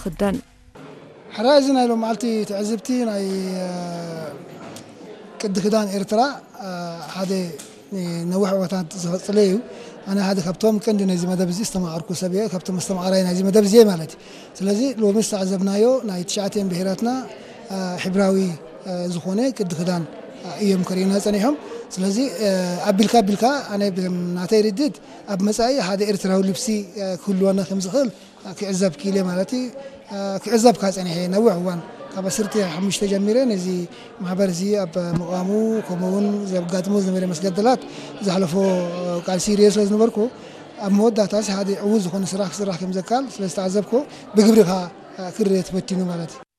ክዳን። ሕራይ እዚ ናይ ሎም መዓልቲ ትዕዝብቲ ናይ ቅዲ ክዳን ኤርትራ ሓደ ነዊሕ ዕወታት ዝቐፅለ እዩ። ኣነ ሓደ ካብቶም ቀንዲ ናይዚ መደብ እዚ ዝተማቐርኩ ሰብ እየ፣ ካብቶም ኣስተማቐራይ ናይዚ መደብ እዚ እየ ማለት እዩ። ስለዚ ሎሚ ዝተዓዘብናዮ ናይ ትሽዓተን ብሄራትና ሕብራዊ ዝኾነ ቅዲ ክዳን እዮም ከርእዩና ጸኒሖም። ስለዚ ኣቢልካ ኣቢልካ ኣነ ናተይ ርድድ ኣብ መጻኢ ሓደ ኤርትራዊ ልብሲ ክህልወና ከም ዝኽእል ክዕዘብ ክኢለ ማለት እዩ። ክዕዘብ ካብ ጸኒሐ ነዊሕ እዋን ካብ ዓሰርተ ሓሙሽተ ጀሚረ ነዚ ማሕበር እዚ ኣብ ምቋሙ ከምኡ እውን ዘጋጥሞ ዝነበረ መስገደላት ዝሓለፎ ቃልሲ ይሪኦ ስለ ዝነበርኩ ኣብ መወዳእታስ ሓደ ዕዉት ዝኾነ ስራሕ ክስራሕ ከም ዘካል ስለ ዝተዓዘብኩ ብግብሪ ከዓ ክርእ ተፈቲኑ ማለት እዩ።